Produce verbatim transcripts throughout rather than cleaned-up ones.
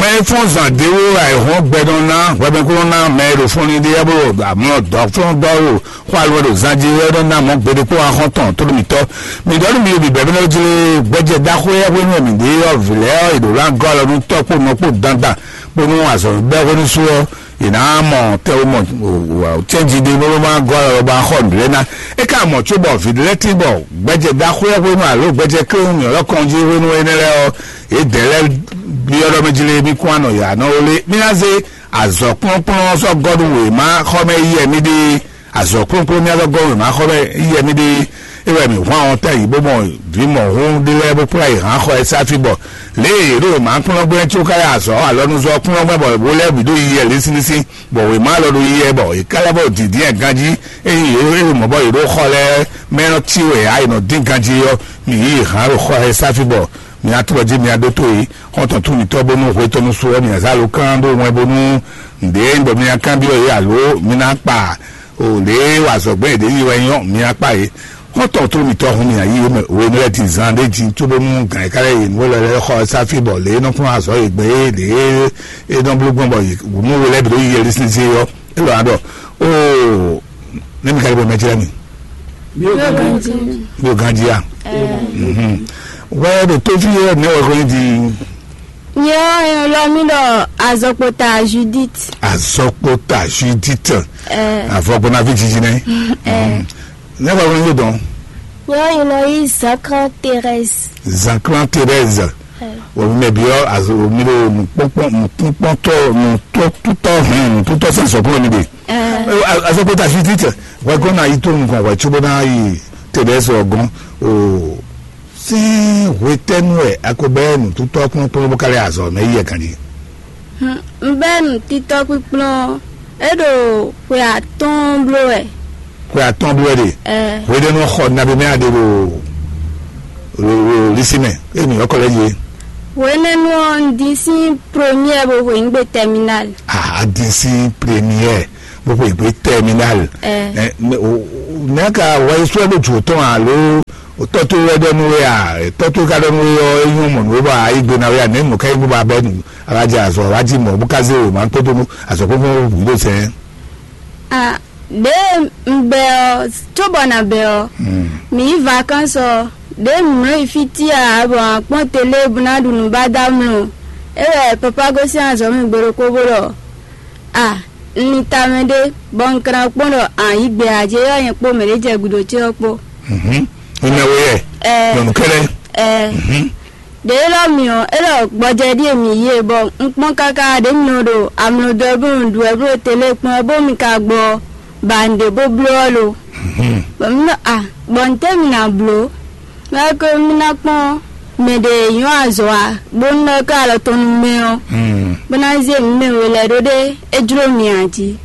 Mɛ e fɔ́n zǎn d'é wú wɛ ayǐhɔ́n gbɛ nɔ ná hwɛmɛkúnɔ ná mɛ e ɖo fɔnni ɖe ɔ́ bó ɖo amlɔ dɔ̌flɔ́ndɔ́ ɖo xó alɔ ɖo zan jí wɛ nɔ ná mɔ̌ gbeɖé kpó axɔ́ tɔn tó ɖo mǐtɔn. Mǐ ɖɔ nú mi bǐbɛ́ nɔ jlé gbɛjɛ ɖaxó e hwenu e mǐ ɖe ɔ́ vǐ lɛ́ɛ ɔ́, è ɖǒ ná gɔ́ alɔ nú tɔ́ kpó nɔ kpó dandan kpó nú azɔ̌ bɛ́ hwenu sú ɔ́, è nǎ mɔ tɛwomɔ cɛ́nji ɖé bó má gɔ́ alɔ bó axɔ nǔɖé ná. É ka mɔ cóbɔ vǐ lɛ́ɛ tín bɔ gbɛjɛ ɖaxó e hwenu alo gbɛjɛ kléwun mǐ ɔ́ kɔn jí hwenu énɛ́ lɛ́ɛ ɔ́, yědɛɛ lɛ́ɛ byɔ́ ɖɔ mɛ jí lé mì kún anɔ yǎ nɔ ó lé. Mì ná zé azɔ̌ kplɔ́nkplɔ́n sɔ́ gɔ́ nú wěma xɔ mɛ yí wɛ mì ɖe. Azɔ̌ kplɔ́nkplɔ́n mì azɔ́ gɔ́ wěma xɔ mɛ yí wɛ mì ɖe. É wɛ mǐ hwan ɔ́ ta yǐ bó mɔ vǐ mɔ̌hún ɖé lɛ́ɛ bó kplá yě hán xɔ ɛ sáfí bɔ lě e yě ɖo wěma kplɔ́n gbɛ́ có ká yɛ azɔ̌ alɔnuzɔ́ kplɔ́n gbɛ́ bɔ wo lɛ́ɛ bǐ ɖo yí yɛ lɛ́ɛ sínsín bɔ wěma lɔ ɖo yí yɛ bɔ è ká lɛ́ bɔ dǐndín ɛ ganjí. Ényí yě ɖo mɔ̌ bɔ yě ɖo xɔ lɛ́ɛ mɛ nɔ cí wɛ ǎ è nɔ dín ganjí ɔ́, mǐ yí yě hán ɖo xɔ ɛ sáfí bɔ mi ná tlɔ́ jí mi ná ɖótó yě. Xɔ́ntɔn tún mǐtɔn bónú hwetɔ́nu su ɔ́, mi ná zá alǒkan ɖó wɛn bónú nǔɖé bɔ mi ná kanbyɔ́ yě alo mi ná kpa o lě e wa azɔ̌gbɛ́n yěɖée yi wɛ nyɔ́ mi ná kpa yě. Xɔ́ntɔn tún mǐtɔn hun mi ná yí yě mɛ hwenu lɛ́ɛ din zan ɖé jí cóbónú gǎn e ka lɛ́ yě nǔ élɔ́ lɛ́ɛ xɔ sáfí bɔ lě e nɔ kplɔ́n azɔ̌ yě gbɛn é lě e é nɔ bló gbɔn bɔ nú we lɛ́ɛ bǐ ɖo yí yɛ lísínsín ɔ́, é lɔ̌ ná ɖɔ óo. Nɛ́ mi ka lɛ́ bɔ mɛ jlɛ́ mi? Yóò ganjí. Yóò ganjí a? Wɛ ɖo tófí yɛ nɛ́ wɛ hwɛ di? Nyɛ ɔ́, nyɛ lɔ mi ɖɔ azɔkpota Judith. Azɔkpota Judith. Ɛ. Avɔgbɔnavi jiji nɛ. Ɛ. Nɛ́ wɛ hwɛ di dɔn? Nyɛ ɔ́, nyɛ nɔ yí Zakran Thérèse. Zakran Thérèse. Ɛ. Wɔ mi mɛ bi ɔ́, azo mi ɖo nukpɔkpɔ nukpɔkpɔtɔ nutɔtutɔ hɛn nututɔ sɛn sɔkplɔ mi de. Ɛ. Azɔkpota Judith. Wɛ gɔn na yi tó nukɔn wɛ tso bó na yi Thérèse ɔgɔn. O. Sín hwetɛ́nu wɛ a ko bɛ́ nǔtútɔ́ kplɔ́nkplɔ́n bó ka lɛ́ azɔ̌ mɛ yi yɛ ganjí? Un bɛ́ nǔtítɔ́ kpíkplɔ́n, é ɖo xwe atɔ́ɔ́n bló wɛ. Xwe atɔ́ɔ́n bló wɛ ɖe. Ɛ. Hweɖénu xɔ nabí mɛ a ɖe ɖo ɖo ɖo lisi mɛ, emi ɔkɔ lɛ yi. Hwenɛ́nu ɔ́, un dín sín première bó hweyǐngbe terminale. Ah, a dín sín première bó hweyǐngbe terminale. Ɛ. Ɛ, mɛ o, o, mɛ ka wɛ sɔ ɖo jò tɔn alo o tɔ to wɛ ɖɔ nú we a, tɔ to ka ɖɔ nú we ɔ́, e nyɔ mɔ nú we bɔ a yi gbe na we a, nɛ nu ka yi bó ba bɛ nu a wá jɛ azɔ wá jí mɔ bó ka zé o ma kpódó nú azɔ kpókpó wǔ ɖo sɛn. A, ɖě un bɛ ɔ́, cóbɔ na bɛ ɔ́, mi yí vakansi ɔ́, ɖě mǐ mlɔ́ yi fí tia bɔ a kpɔ́n tele bó ná ɖu nǔ bá dó amlɔ. É wɛ papa gosín azɔ̌ mɛ gbe ɖokpó bó ɖɔ: A, un ni tamɛ ɖé, bɔ un ka ná kpɔ́n ɖɔ a yǐ gbɛ ǎ, jɛ ylɔ́ nyɛ kpó mɛ ɖě jɛ gǔdo ce ɔ́ kpó. Mhm. Mimɛ we yɛ. Ɛ. Nyɔnu kɛ́ɖɛ́. Ɛ. Mhm. Ɖě élɔ́ mi ɔ́, é ɖɔ gbɔjɛ ɖíe mǐ yí e, bɔ un kpɔ́n káká ɖě mi nɔ ɖo amlɔdɔ́ bó nɔ ɖu wɛ bó ɖo tele kpɔ́n wɛ bó mi ka gbɔ ba un ɖě bó bló ɔ́ lo. Mhm. Bɔ mi ɖɔ a, bɔ ntɛ́ mi ná bló? Mɛ ko mi ná kpɔ́n mɛ ɖě e nyɔ́ azɔ̌ ǎ, bó nɔ́ ká alɔ tɔn nú mɛ ɔ́, bó ná zé mǐ mɛ we lɛ́ɛ ɖó ɖé é jló mi ǎ jí.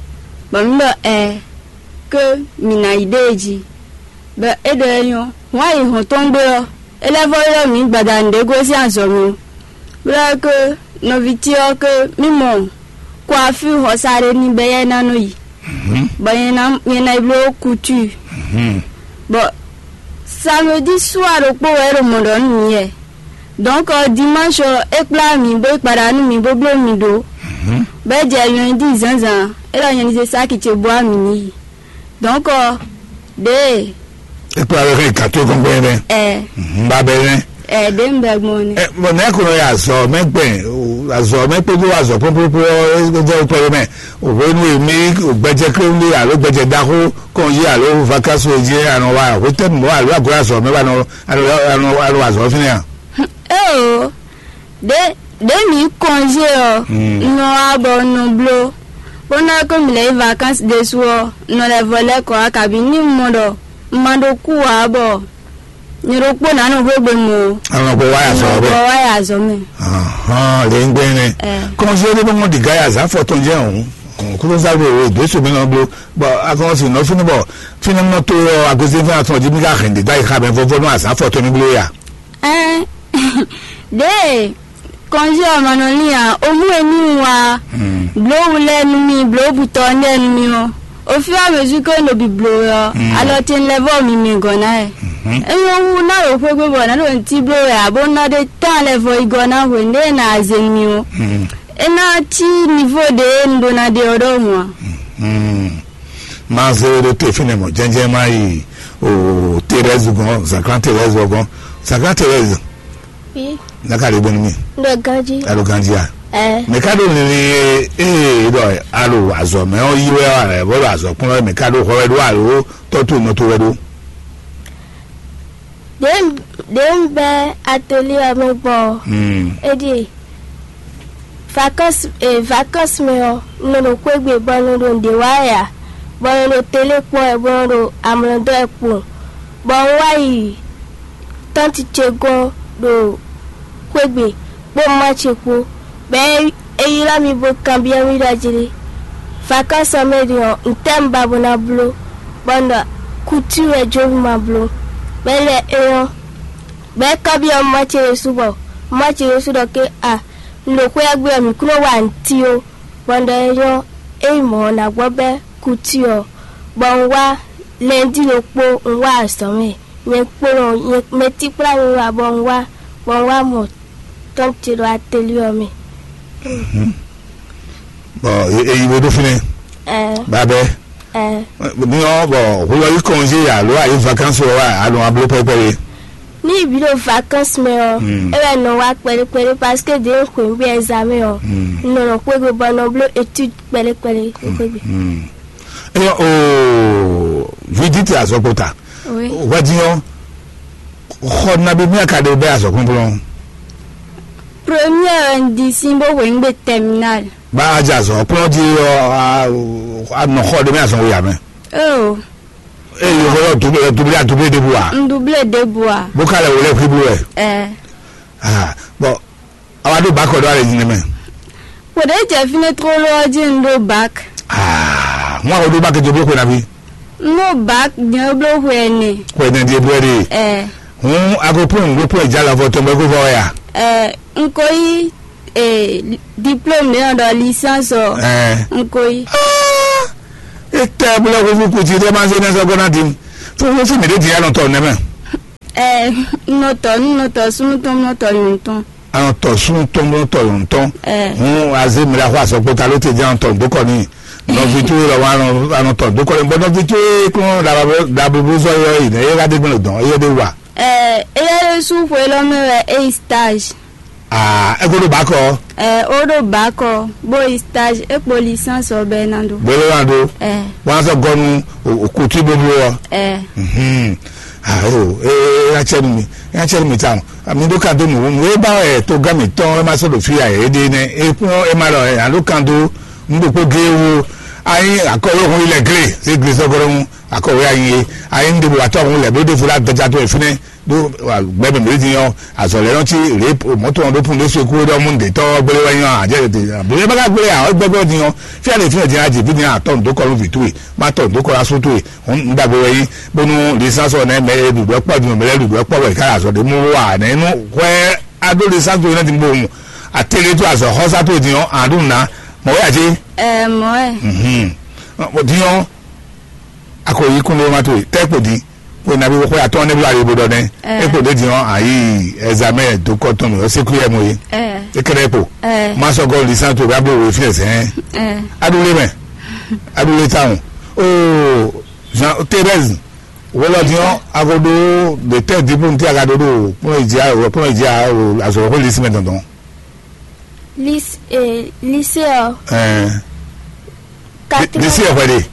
Bɔ mǐ ɖɔ ɛ, ké mǐ ná yi ɖée jí. Bɔ é ɖɔ é nyɔ́, hǔn ayǐ hɔn tɔn gbe ɔ́, é lɛ́ vɔ́ ylɔ́ mǐ gbadanu ɖě gosín azɔ̌ mɛ, bó ɖɔ ké nɔví ce ɔ́ ké mì mɔ kɔafí hɔsa ɖé ní bɔ éyɛ́ ná nɔ yi, bɔ nyɛ ná nyɛ ná yi bló kútúi. Bɔ samedi sua ɖokpó wɛ é ɖo mɔ̌ ɖɔ nú mǐ wɛ. Dɔ̌nkɔ dimanche ɔ́, é kplá mǐ bó yi kpaɖa nú mǐ bó bló mǐ ɖó, bɔ é jɛ lundi zǎnzǎn, é ɖɔ nyɛ ní zé sáki ce bó wá mǐ ní yi. Dɔ̌nkɔ ɖěe É kplá wɛ hɛn gǎn tó gɔ́ngbɛ́n nɛ́. Ɛ. Ba bɛ nɛ́. Ɛ, ɖě un bɛ gbɔn ni. Ɛ, bɔn nɛ́ ko nɔ yɛ azɔ mɛ gbɛn, azɔ mɛ kpódó azɔ kpókpókpó ɔ́, é jẹ́ wopɛ mɛ. Hwenu e mi gbɛjɛ kléwúlé alo gbɛjɛ ɖaxó kɔn yí alo vakansi e jí anɔ wa hwetɛnu mɔ alo aglo azɔ mɛ wa nɔ alo alo alo azɔ fínɛ́ a? Eo, ɖě ɖě mǐ kɔnzé ɔ́, un nɔ wá bɔ un nɔ bló, bó ná kó mǐ lɛ́ yi vakansi ɖésú ɔ́, un nɔ lɛ́ vɔ lɛ́ kɔ wá, kabǐ ní un mɔ ɖɔ un ma ɖó kú ǎ bɔ nyɛ ɖokpó ná nɔ xwé gbe mɔ o. Àwọn ọkọ wáyà sọ̀rọ̀ bẹ́ẹ̀. Wáyà azɔ̌ mɛ. Hàn lè ń gbé ní. Ɛ. Kɔnzé ní bó mɔ dìgá yà zá fɔ tɔn jẹ́ òun. Kúrò sáré òwe ìgbésù mi náà bló. Bɔ akɔn sì nọ fínú bɔ fínú mọ tó yọ agbésí fún àtúntò jí mi ká hẹn dìgá yìí ká bẹ fọfọ nù àzá fọ tó ní bló yà. Ɛ. Ɖěe kɔnzé ɔ́ ma nɔ lín ǎ, o mú e ní un wá bló wú lɛ́ɛ nú mì, bló butɔ ɔ́ lɛ́ɛ nú mì ɔ́, au fur et à mesure que un ɖo bǐbló wɛ ɔ́, alɔ ce un lɛ́ vɔ mì mɛ gɔ̌ ná wɛ. É nyɔ́ hú ná ɖo xwé gbe bɔ nǎ ɖo ntí bló wɛ ǎ, bó ná ɖe tán lɛ́ vɔ yi gɔ́ ná hwenu ɖé e nǎ zé nú mì ɔ́. É ná cí nivo ɖě un ɖó ná ɖe ɔ́ ɖɔhun a? Hmm. Má zé we ɖó te fínɛ́ mɔ̌ jɛ́njɛ́n má yi o Thérèse gɔ́n, zǎnklán Thérèse ɔ́ gɔ́n. Zǎnklán Thérèse, Bí ná ka ɖe gbɛ́nú mì. Ɖo ganjí. A ɖo ganjí a? Ɛ. Mɛ ka ɖo linlin e e ɖɔ a ɖo azɔ̌ mɛ ɔ́ yí wɛ ɔ́, a bɔ ɖo azɔ̌ kplɔ́n wɛ, mɛ ka ɖo hɔ wɛ ɖó alo tɔ́ to nɔ to wɛ ɖó? Ɖě ɖě un bɛ́ atelier ɔ́ mɛ gbɔn ɔ́, Hmm. é ɖíe: vacances e vacances mɛ ɔ́, un nɔ ɖo xwé gbe bɔ un nɔ ɖo nǔɖé wa wɛ ǎ, bɔ un nɔ ɖo télé kpɔ́n wɛ, bɔ un nɔ ɖo amlɔ dɔ́ wɛ kpowun, bɔ un wá yi tɔ́nti ce gɔ́n ɖo xwé gbe kpó mama ce kpó, bɔ é ylɔ́ mì bó kanbyɔ́ mì ɖɔ jí: "Vacances ɔ́ mɛ din ɔ́, ntɛ́ un ba bó ná bló?" Bɔ un ɖɔ: "Couture wɛ jó mì ma bló." Bɔ é lɛ́ é ɔ́, bɔ é kanbyɔ́ mama ce ɖésú, bɔ mama ce ɖésú ɖɔ ké: "A, un ɖo xwé ɔ́ gbe ɔ́, mǐ kún nɔ wa nǔti ó." Bɔ un ɖɔ: "É nyɔ́, ényí mɔ̌ ɔ́, ná gbɔ bɛ́ couture ɔ́." Bɔ un wá lundi ɖokpó, un wá azɔ̌ mɛ, nyɛ kpó nɔ nyɛ mɛ tíkplá mi wá, bɔ un wá bɔ un wá mɔ tɔ́n ce ɖo atelier ɔ́ mɛ. Bɔ e yi we ɖó fínɛ́. Ɛ. Babɛ. Ɛ. Ní ɔ́ bɔ hwelɔ́ yí congé alo ayé vacances wɛ wá alo abló pɛpɛ we. Ní ibi ɖo vacances mɛ ɔ́, Hmm. é wɛ nɔ wá kpɛɖé kpɛɖé, parce que ɖě un xweyǐgbe examen ɔ́, Hmm. un nɔ nɔ xwégbe bɔ un nɔ bló étude kpɛɖé kpɛɖé xwégbe. Hmm. Eyɔ o Judith azɔkpota. Oui. Wadi ɔ́, xɔ nabi mi aka ɖe bɛ azɔkpɔnplɔn. Première un di sin bó hweyǐgbe terminal. Ba a jɛ azɔ kplɔn di ɔ a a nɔ xɔ ɖe mi azɔn wo ya mɛ. Oh. Eye xɔ yɔ double double a double de bu a. Un double de bu a. Bó ka lɛ wòlé xiblu wɛ. Ɛ. Ah, bon, awa ɖo bakɔ ɖo alɛ nyinɛ mɛ. Kpɔɖé jɛ fínɛ́ tlóló ɔ́ jí un ɖó bak. Ah, ŋu awo ɖó bakɛ jɛ bló xwe na fi. Un ɖó bak jɛ bló xwe ɛnɛ. Xwe ɛnɛ di ebú ɛɖi. Ɛ. Hun ago pɔn ɖó pɔn ìjà lɔ fɔ tɔn bɛ kó fɔ ya. Ɛ, un ko yí e diplôme ɖé ɔ́ ɖɔ licence ɔ. Ɛ. Un ko yí. Ah, etɛ bló xwe fún kùtì ɖé ma ṣe ní ɛsɛ gbọ́ná di. Fún fún fún mi ɖé di ya nɔ tɔ nɛ mɛ. Ɛ, nɔ tɔ nú nɔ tɔ súnú tɔn nɔ tɔ nyɔ̌nu tɔn. Anɔ tɔ súnú tɔn nɔ tɔ nyɔ̌nu tɔn. Ɛ. Hun azé mi la xɔ asɔkpota ló te jẹ́ anɔ tɔ dókɔ ní. Nɔvi tó lɔ wa anɔ tɔ dókɔ ní bɔ nɔvi tó kún dablo sɔ yɔ yi nɛ yɛ ka dé gbɔn dɔn yɛ dé wa. Ɛ, eyɛ ɖé sú xwe lɔ mɛ wɛ é yi stage. Aa, eko ɖo ba kɔ. Ɛ, ó ɖo ba kɔ bó yi stage é kpo licence ɔ bɛ ná ɖó. Bó ló ná ɖó. Ɛ. Wọn sɔ gɔnu òkú tí bó bló ɔ. Ɛ. Mhm. Ayo, ee, atsɛnu mi, atsɛnu mi tawon. Ami ɖó ka dó nǔ nǔ e ba wɛ togán mǐtɔn e ma sɔ́ ɖo fí ǎ é ɖe nɛ́, é kún é ma ɖɔ ɛ alo kan dó nǔ ɖokpó géé wú. Anyi akɔlóhun ilẹ̀ glé sí glé sɔ́gɔ́rɔ́hún akɔwé anyi é. Anyi nǔ ɖěbǔ atɔ́hún lɛ̌ bó ɖéfo lá dɔjá tó ɛ fínɛ́ ɖó gbɛmɛ mǐ dín ɔ́ azɔ̌ lɛ́ɛ nɔ cí rě mɔ̌to ɔ́ ɖó pun ɖé so kú ɖɔ mú nǔɖé tɔ́ gbélé wɛ nyí ɔ́ àjẹ́ tètè àbúrò bá ká gbélé ǎ ɔ́ gbɛgbẹ́ dín ɔ́ fí alě fínɛ́ dín ajǐ fí dín atɔ́ nǔ dó kɔ nú vǐ towe má tɔ nǔ dó kɔ nú asú towe. Ŋdagbe wɛ yí bónú lisans ɔ́ nɛ́ mɛ e ɖuɖu ɛkpɔ din mɛ lɛ́ɛ ɖuɖu ɛkpɔ wɛ ká azɔ ɖé mú wá nɛ́ nú hwɛ adó lisans ɔ́ nɛ́ din bó mu atélé tó azɔ xɔ́sá tó din ɔ́ aɖú ná mɔ̌ wɛ ati. Ɛ mɔ̌ ɛ. Mhm. Din ɔ́ akɔ yí kún ló má tó tɛ kpo din kó nabi xɔ atɔ́ nɛ́ bla yi bó ɖɔ nɛ́. Ɛ. E kpo ɖé din ɔ́ ayi ɛzamɛ dó kɔ tɔn mɛ ɔ́ sékú yɛ mɔ yé. Ɛ. E kɛɖɛ kpo. Ɛ. Má sɔgɔ lisans tó bá bó wò fi ɛsɛ. Ɛ. Aɖú lé mɛ aɖú lé táwọn. Oo Jean Thérèse wolo din ɔ́ agodo de tɛ dibu ntí agadodo kplɔn ìdí kplɔn ìdí azɔrɔ kó lisi mɛ dandan. Lycée eh, lycée ɔ. Ɛɛ. Quatrième. Lisi ɛfɛ de.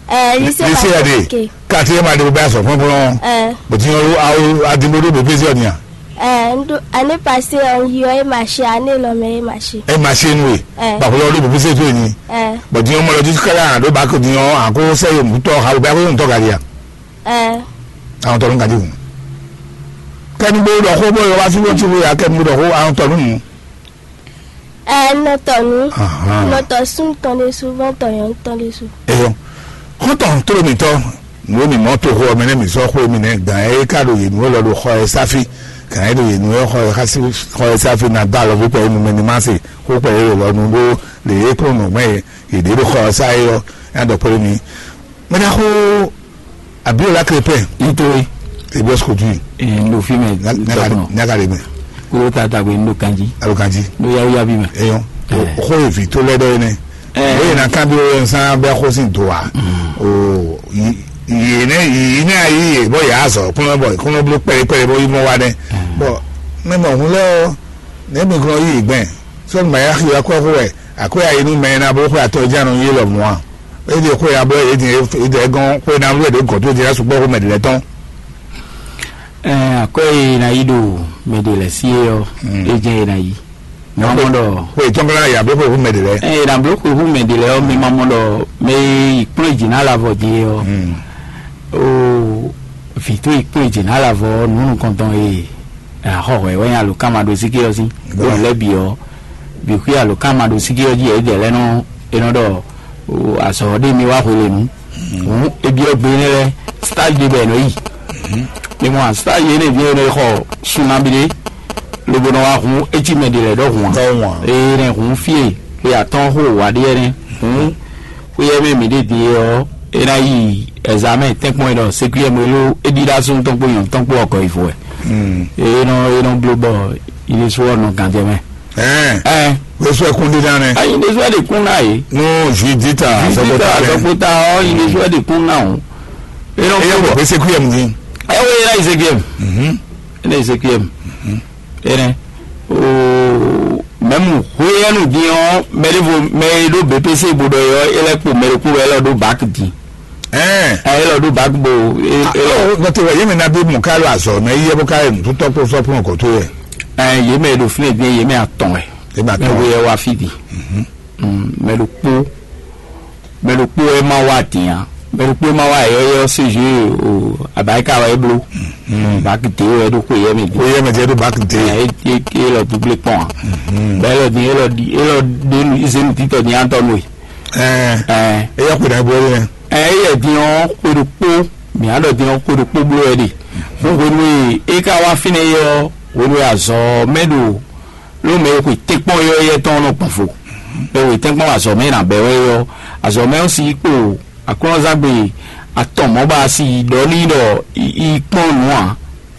Ɛɛ lycée lisi ɛfɛ de. Quatrième ade bɛ azɔ fɔnfɔn. Ɛɛ. Bɔtí yɔ awo adimbodo bɛ pèsè ɔni a. Ɛɛ ndo année passée ɔ yi ɔ e ma ṣe année lɔ mɛ e ma ṣe. E ma ṣe nu ye. Ɛɛ. Bàbá lọ ló bɛ pèsè tó ni. Ɛɛ. Bɔtí yɔ mɔlɔ títí kala àdó bá kò ní ɔ àkó sẹ́yìn mú tọ́ ha bɛ kó ń tọ́ gàdí a. Ɛɛ. Àwọn tɔnu gàdí wù. Kẹ́ni bó lọ kó bó lọ wá sí wọ́n ti wúyà kẹ́ni bó lọ kó àwọn tɔnu nù. Ɛ nɔtɔ nu. Ahan. Nɔtɔ sun tɔn ɖe su vɔn tɔ yɔn tɔn ɖe su. Eyɔ. Xɔtɔn toro mitɔ nuwo mi mɔ to xo ɔmɛ ne mi sɔ xo mi ne gan e ka ɖo yi nuwo lɔ ɖo xɔ e safi gan e ɖo yi nuwo xɔ e xasi xɔ e safi na da lɔ fi kpɛ nu mɛ ni ma se xo kpɛ e lɔ nu ɖo le e kplɔn nɔ mɛ e ɖe ɖo xɔ sa e yɔ ya dɔ kpɛ mi. Mɛ da xo Abiola Crépin. Nítorí ebi ọsùn kojú yìí. Ee, n ɖo fí mɛ. Nyaka ɖe mɛ. Kúrò tá a dàgbé n ɖo kanjí. Alo kanjí. N ɖo yáwó yábí mɛ. Eyɔn. Xó e vǐ tó lɛ́ɛ ɖɔ é nɛ́. Bó yě ná kanbyɔ́ wɛ sán bɛ́ xó sín do ǎ. O yě nɛ́ yě nɛ́ ayí yě bɔ yě azɔ kplɔ́n bɔ kplɔ́n bló kpɛɖé kpɛɖé bó yi mɔ wá nɛ́. Bɔ mɛ mɔ hun lɛ́ɛ ɔ́, nɛ̌ mi glɔ́n yí yě gbɛn? Sɔ́ ma yá xi wá kɔ́ xó wɛ, akwɛ́ ayé nú mɛ ná bó xwé atɔ ján nɔ yí lɔ mɔ̌ a? É ɖi xwé ná bɔ yě din yě dɛ gɔ́n xwé ná wɛ ɖě gɔ̌ tó din ná sukpɔ́ xó mɛ ɖě lɛ́ɛ tɔn. Ɛɛ, akwɛ́ e è nǎ yí ɖo mɛ ɖě lɛ́ɛ sí é ɔ́, é jɛ́n è nǎ yí. Mɛ ma mɔ ɖɔ Xwe tɔn ka ná ya bló xwe hú mɛ ɖě lɛ́ɛ. Ɛ, è nǎ bló xwe hú mɛ ɖě lɛ́ɛ ɔ́, mi ma mɔ ɖɔ mɛ e yi kplɔ́n jǐ ná lavɔ din é ɔ́, ó vǐ tó yi kplɔ́n jǐ ná lavɔ ɔ́, nǔ nukɔntɔn e è nǎ xɔ hwɛ̌ wɛ nyí alǒkanmaɖósíké ɔ́ sín. Bó lɛ́ bǐ ɔ́, bǐ xwí alǒkanmaɖósíké ɔ́ jí yɛ é jɛ lɛ́ɛ nɔ é nɔ ɖɔ azɔ̌ ɔ́ ɖe mi wá hwelenu. Hǔn, e byɔ́ gbe énɛ́ lɛ́ɛ, stage ɖé bɔ è nɔ yi. Mi mɔ stage énɛ́ ví e nɔ yi xɔ sunnabi ɖé, lobo nɔ wá hun écí mɛ ɖé lɛ́ɛ ɖɔhun ǎ. Ɖɔhun ǎ. Ee, nɛ hun fí e xwe atɔ́ɔ́n xo wǎ ɖé ɛnɛ́. Hǔn, xwé ɛ mɛ mǐ ɖe din é ɔ́, é ná yi ɛzamɛ tɛ́nkpɔ́n e nɔ sékúyɛ́ mɛ ló é ɖíɖá súnnu tɔn kpó nyɔ̌nu tɔn kpó ɔkɔ yi fo wɛ. Ee, nɔ é nɔ bló bɔ ilé só ɔ́ nɔ gǎnjɛ mɛ. Ɛɛ. Ɛɛ. Wesɔ ɛkún dídá nɛ. Ayi ɖésú ɛdi kún náà yìí. Nú Judita Judita azɔkpota lɛ. Azɔkpota ɔ yi ɖésú ɛdi kún náà o. Eye kò pé sékúyɛm ní. Ɛwɔ yẹn náà Ezekiel. Mhm. Ɛnɛ Ezekiel. Ɛnɛ. O mɛmu hweyɛnu dín ɔ mɛɖevo mɛ e ɖo B P C bó ɖɔ yɔ e lɛ kpo mɛɖeku wɛ lɔ ɖo bak dín. Ɛɛ. Ɛ e lɔ ɖo bak bo e e lɔ. Ɔ bɔtɛ wɛ yémi na bí mɔ ká lɔ azɔ mɛ yíyɛ bó ká yɛ nutútɔ kpó sɔkplɔn kò tó yɛ. Ɛ yé mɛ ɖo fínɛ dín yé mɛ atɔn wɛ. Yé mɛ atɔn wɛ. Mɛ wo yɛ wá fí di. Mɛ ɖokpó mɛ ɖokpó wɛ ma wá dín a mɛ ɖokpó wɛ ma wá yɛ yɛ ɔ́ séjé o abayika wɛ é bló. Bak dé wɛ ɖó xwe yɛ mɛ dín. Xwe yɛ mɛ dín é ɖó bak dé. Ɛ é é lɔ dúblé kpɔn a. Bɛ é lɔ dín é lɔ di é lɔ dé nu izé nu títɔ dín atɔ nu e. Ɛɛ. Ɛɛ. Eyɔ xwe ɖagbe wɛ. Ɛ eyɛ din ɔ́ xwe ɖokpó mǐ á ɖɔ din ɔ́ xwe ɖokpó bló wɛ ɖe. Bó hwenu e é ka wá fínɛ́ é ɔ́, hwenu e azɔ̌ ɔ́ mɛ ɖo ló mɛ e xwe tɛ́nkpɔ́n yɔ́yɔ́ tɔn ɔ́ nɔ gbɔn vo. Mɛ e xwe tɛ́nkpɔ́n azɔ̌ mɛ e nǎ bɛ́ wɛ é ɔ́, azɔ̌ mɛ ɔ́ sixú kpo aklɔ́nzangbe atɔn mɔ̌ ba asi ɖɔ n'i ɖɔ yi kpɔ́n nǔ ǎ.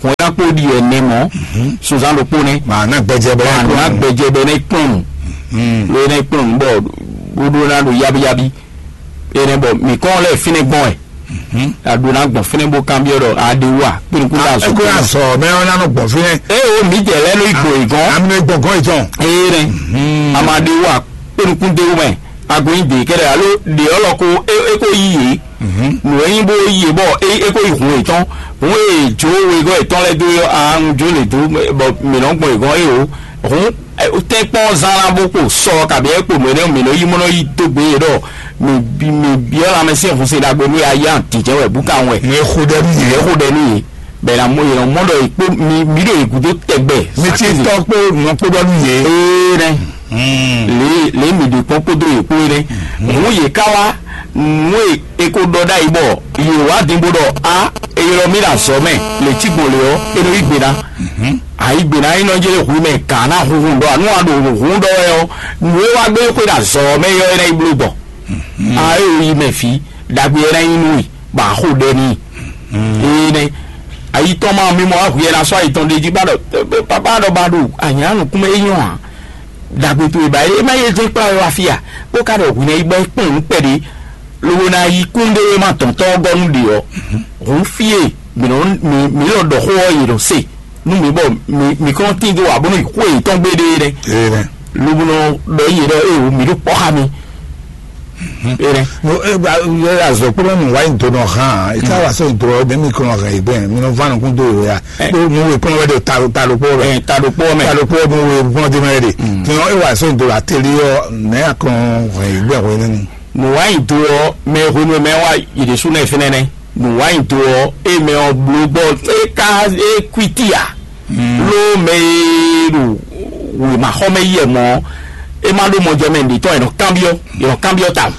Hɔn ɛ ná kpó ɖi ɛnɛ mɔ̌, sunzán ɖokpó nɛ́. Màá ná gbɛjɛ bɔ Màá ná gbɛjɛ bɔ ná kplɔ́n nǔ. Lo ná kplɔ́n nǔ bɔ bó ɖó ná ɖo yábíyábí. Énɛ́ bɔ mǐ kɔn lɛ́ fínɛ́ gbɔn wɛ. A ɖó ná gbɔn fínɛ́ bó kanbyɔ́ ɖɔ a ɖe wú a kpé nukún ɖo azɔ̌. Eko yà sɔ mɛ ɔ́ ná nɔ gbɔn fínɛ́. Eye o mǐ jɛ lɛ́ ló yi gbɔn yě gɔ́n. Amínú gbɔn gɔ́n yìí tɔn. Eye nɛ. A ma ɖe wú a kpé nukún d'é wú mɛ. A ko nyi dě kɛ́ɖɛ́ alo ɖě ɔ́ lɔ ko é é ko yí yě. Nǔ e nyí bó yí yě bɔ é é ko yi hǔn yětɔn. Hǔn e jǒ wegɔ́ yětɔn lɛ́ɛ dó é ɔ́, a un jó lě dó bɔ mǐ nɔ́ gbɔn yě gɔ́n é o. Hǔn tɛ́nkpɔ́n zán ná bó kpo sɔ kabǐ é kpo nǔ énɛ́ mǐ nɔ́ yí mɔ nɔ́ yí dó gbe yě ɖɔ mǐ mǐ byɔ́ lanmɛsyɛn hun sin ɖagbe nú yá yá dǐjɛ́ wɛ bú kawun wɛ. Mɛ xo ɖɛ nú yě. Mǐ xo ɖɛ nú yě. Bɛ na mɔ yě nɔ mɔ ɖɔ yě kpó mi mi ɖo yě gúdo tɛgbɛ. Mi ti tɔ kpó nɔ kpó ɖɔ nú yě. Ee nɛ. Lě lě mi ɖe kpɔ́n kpódó yě kpó é nɛ. Nǔ yě ká wá nǔ e è ko ɖɔ ɖ'ayǐ bɔ yě wá din bó ɖɔ a è ylɔ́ mì ɖo azɔ̌ mɛ lě cí gbɔn lě ɔ́, é nɔ yí gbe ná. Ayǐ gbe ná é nɔ jɛ hu mɛ gǎ ná hunhun ɖɔ anu a ɖo hun ɖɔ wɛ ɔ́, nǔ e wá gbé xwe ɖo azɔ̌ mɛ yɔ é ná yi bló gbɔ. A é yi mɛ fí ɖagbe é ná yi nú i. Ba xo ɖɛ n'i. Ee nɛ ayitɔn ma mi mɔ ahu yɛ na sɔ ayitɔn ɖe jí ba ɖɔ papa ɖɔ ba ɖo anya nukún mɛ é nyɔ a dagbe to ba e ma ye jɛ kpla yɔ afia bó ka ɖɔ hu nɛ yi bɔ kpɔn nu kpɛɖe lobo na yi kún ɖe e ma tɔn tɔ gɔ nu ɖe ɔ hun fie mi nɔ mi mi lɔ ɖɔ xo ɔ yi nɔ se nu mi bɔ mi mi kɔn tin do wa bó nɔ yi xo yi tɔn gbe ɖe ɖɛ. Ee nɛ. Lobo nɔ ɖɔ yi ɖɔ e o mi ɖo kpɔ xa mi. Ere. No e ba e azɔ kpɔlɔ nu wa yin do nɔ hàn e ka wa so do ɔ demi kɔnɔ hàn yi bɛn mi nɔ va nukun do yɛ ya kpɔ nu we kpɔlɔ wɛ de ta ta do kpɔ bɛ. Ɛ ta do kpɔ mɛ. Ta do kpɔ nu we kpɔlɔ de mɛ de. Tiɲɔ e wa so do la teli ɔ nɛ akɔn hàn yi bɛn hwɛ nínú. Nu wa yin do ɔ mɛ hwenu mɛ wa yi de su nɛ fɛnɛ nɛ. Nu wa yin do ɔ e mɛ ɔ blo gbɔ e ka e kwiti a. Ló mɛ e ɖo wěmaxɔmɛ yi ɛ mɔ é má ɖó mɔjɛmɛ ɖětɔn è nɔ kanbyɔ́ è nɔ kanbyɔ́ ta.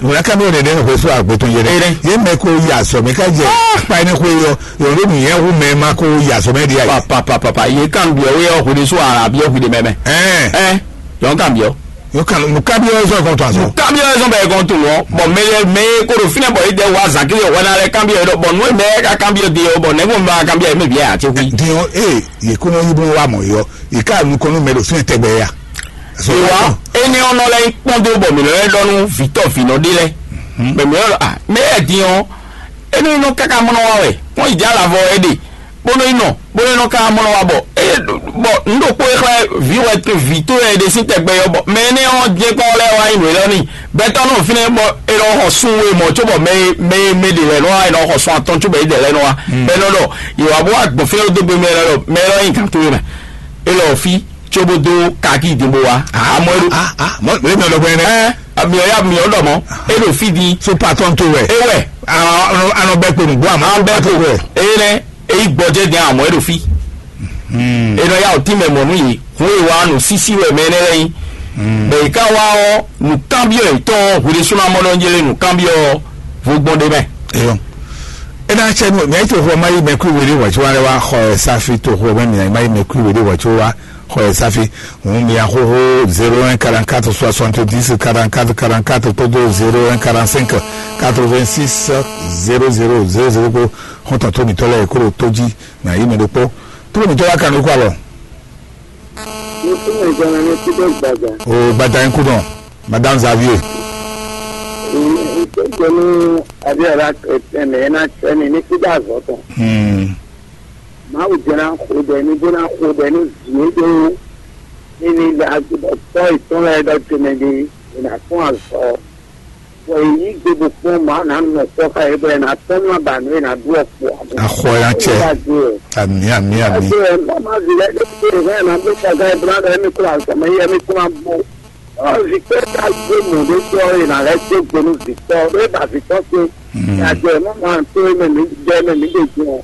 Wòlá kábíyọ̀ dɛ̀dẹ̀ ní xwésú àgbẹ̀tún yẹn dɛ. Yé mɛ ko yà sọ̀mí ká jẹ apá ẹni xwé yọ yọ̀rọ̀ ló nìyẹn wú mɛ má kó yà sọ̀mí di àyè. Papapapa yé kanbyɔ́ wé ɔ́ xwéɖésú àràbíyɔ́ xwéɖé mɛmɛ. Ɛn. Ɛn yɔ́n kanbyɔ́. Yóò kàn nù kábíyọ̀ ẹ̀sọ́ kan tó àzọ. Kábíyọ̀ ẹ̀sọ́ bẹ̀rẹ̀ kan tó wọ́n bọ̀ mɛ mɛ kó ɖo fínɛ bọ̀ yìí dɛ wá zàkíyọ̀ wọ́n náà lẹ kábíyọ̀ yìí dọ̀ bọ̀ nù mɛ ká kábíyọ̀ di yọ bọ̀ nẹ́gbọ̀n bá kábíyọ̀ yìí mẹ bíyà àti wí. Diɲɔ ee yè kó nɔ yí bó wá mọ̀ yɔ yè ká nu kɔnú mɛ ɖo fínɛ tɛgbɛ yà. Ìwà énɛ́ ɔ́ nɔ lɛ́ nyí kpɔ́ndó bɔ mǐ nɔ lɛ́ ɖɔ nú vǐtɔ́ vǐnɔ ɖé lɛ́ɛ. Mɛ mǐ nɔ ɖɔ, ah, mɛ lɛ́ɛ din ɔ́, énɛ́ nɔ káká mɔ nɔ wa wɛ, kpɔ́n yi jɛ alavɔ é ɖe, bó nɔ yi nɔ, bó nɔ ká mɔ nɔ wa bɔ é bɔ nǔ ɖokpó e xlɛ́ vǐ wɛ vǐ towe ɖe sín tɛgbɛ ɔ́, bɔ mɛ énɛ́ ɔ́ jɛ́n kpɔ́n lɛ́ɛ wá nyi nǔ élɔ́ n'i. Gbɛtɔ́ nɔ fínɛ́ bɔ è nɔ xɔ sún we mɔ̌ cóbɔ mɛ e mɛ e mɛ ɖě lɛ́ɛ nɔ wá è nɔ xɔ sún atɔn cóbɔ é ɖě lɛ́ɛ nɔ wá. Bɔ é nɔ ɖɔ yě wá bó wá gbɔn fínɛ́ dó gbe mɛ lɛ́ɛ ɖɔ mɛ élɔ́ nyi gǎn towe mɛ. É lɔ fí cóbó dó kaki din bó wá. Amɔ é ɖo Ah, ah, mɔ lè mi ɔlọgbẹ nɛ. Ɛ, mi ɔ ya mi ɔ ɖɔ mɔ é ɖo fí din. So patɔn to wɛ. É wɛ. Anɔ bɛ kponu gbɔ àmọ́. An bɛ to wɛ. Eye nɛ eyi gbɔjɛ din amɔ é ɖo fí. Enɔ ya o tí mɛ mɔ nú yìí. Hun e wa nù sísí wɛ mɛ nɛ lɛ yín. Bɛ yi ká wá ɔ nù kábíyɔ yìí tɔn hwele súnú amɔ nɔ jẹlɛ nù kábíyɔ vogbɔn ɖe mɛ. Eyɔ. Ena tsɛ nu mɛ to xɔ ma yi mɛ kú wele wɔ tso wa lɛ wa xɔ ɛ safi to xɔ mɛ mi ma yi mɛ kú wele wɔ tso wa xɔ ɛ safi. Hun mi ahoho zéro un quarante-quatre soixante-dix quarante-quatre quarante-quatre todo zéro un quarante-cinq quatre-vingt-six zéro zéro zéro zéro ko. Xɔntɔn to mi tɔlɛ kúrò tó jí na yi mɛ ɖokpó. Tó mi tɔlɛ kanu kó alɔ. Ní kí ni ìjọba ní kí ló gbàgbà? O gbàgbà yín kú dàn, madame Xavier. Ìjọba ní Abíọ́lá ẹ̀mí ẹ̀ náà tẹ́ mi ní kí dá àzọ́ tán. Hmm. Mawu jẹ́ náà kó dẹ ní bó náà kó dẹ ní zìí dó ní ní tọ́ ìtọ́lá ẹ̀dá tẹ̀mẹ̀ dé ìnà fún àzọ́. Bɔ èyí gbogbo kpɔ́n ma nà nɔ kpɔ́ ká yě bɔ è nà tɔ́ nú abǎnú è nà ɖú ɔkpɔ. Axɔ ya tsɛ. Ami, ami, ami. Ɛsɛ ɛ má ma vi lɛ ɖé tó rẹ nà gbé kaka ɛ bla ɖe mi kura sɔmɛ yɛ mi kura bó. Ɔ vi kpɛ ká gbé mɔ ɖé tɔ è nà lɛ tó gbé nú vi tɔ ɖé ba vi tɔ tó. Yàgbẹ́ má ma tó mɛ mi jẹ mɛ mi ɖe jọ.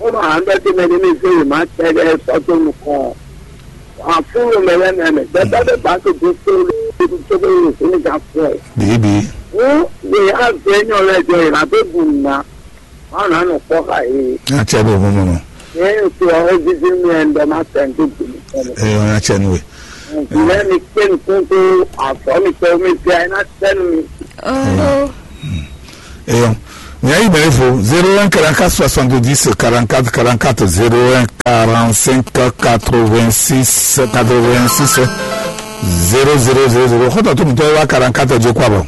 Ó ma hàn bẹ́ẹ̀ tó mɛ ní mi fẹ́ yìí má tẹ́ ẹ sọ tó nukɔn. Àfúrò mɛ lɛ nɛ mɛ gbɛgbɛ ɖé ba tó dó tó tó tó bɛ yìí fún mi ká fún ẹ. Bíbí. Wọ́n lè á gbé ní ọ̀rẹ́ ẹ̀jọ̀ yìí lábẹ́ bùn ná. Wọ́n á nà nù kpọ́ ká yìí. Ní a tiẹ̀ bò mú mú nù. Ní ètò ọ̀rẹ́ jíjí mi ẹ̀ ń dọ̀ máa tẹ̀ ń tó gbìn. Ẹ ọ̀ ní a tiẹ̀ nù wẹ̀. Ìlẹ́ mi pé nìkún tó àfọ́ mi tó mi fi àyínà tẹ́nu mi. Ọ̀rọ̀. Eyɔn. Nya yi mɛ fo zéro un quarante-quatre soixante-dix quarante-quatre quarante-quatre zéro un quarante-cinq quatre-vingt-six quatre-vingt-six zéro zéro zéro zéro. Xɔtɔ tó mi tɔ wa quarante-quatre jɛ kó abɔ.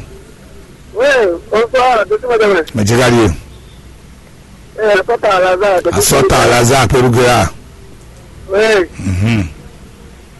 Oui, bonsoir, monsieur madame. Mɛ jɛ ka di ye. Eh, Asɔta Alaza. Asɔta Alaza pelu gera. Oui. Mhm.